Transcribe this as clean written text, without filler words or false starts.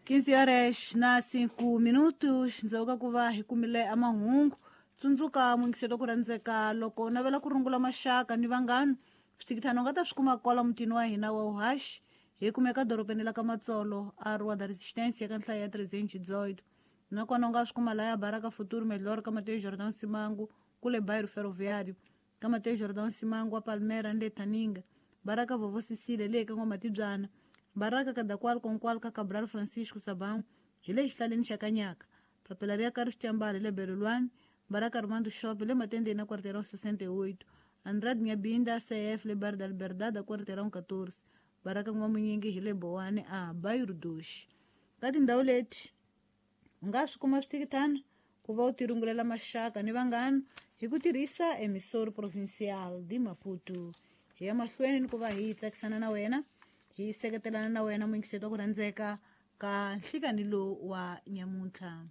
15 horas na 5 minutos ndzhaku ka ku va hi kumile a mahungu. Tsundzuka muyingiselo ku rhandzeka, loko u navela ku rungula maxaka ni vanghana, swithikithana u nga ta swi kuma kwala mutini wa hina wa uhaxi. Hi kumeka dorobeni la ka Matsolo, a Rua da Resistência, ka nhlayo ya 318. Nakona u nga swi kuma laya Baraka Futuro Melhor, ka Mateus Jordão Simango, kule Bairro Ferroviário, ka Mateus Jordão Simango wa Palmera ni le Taninga, Baraka Vovó Cecília le ka N'wamatibyana, Baraka Kadakwal Konkwal ka Cabral Francisco Sabão hi le xihlaleni xa Kanyaka, papila ri ya ka Rixitambala hi le Berelwani, Baraka Armando Shop le Matendeni na Quarteirão 68, Andrade Nyabinda CF le Bar da Liberdade a Quarteirão 14, Baraka N'wamunyingi hi le Bowani a Bairro Doce. Ka tindhawu leti u nga swi kuma swithikithana ku va u tirungulela maxaka ni vanghana hi ku tirhisa Emissor Provincial de Maputo. Hi ya mahlweni ni ku va hi tsakisana na wena, hi seketelana na wena muyingiseti wa ku rhandzeka ka nhlikani lowu wa nyamuntlha.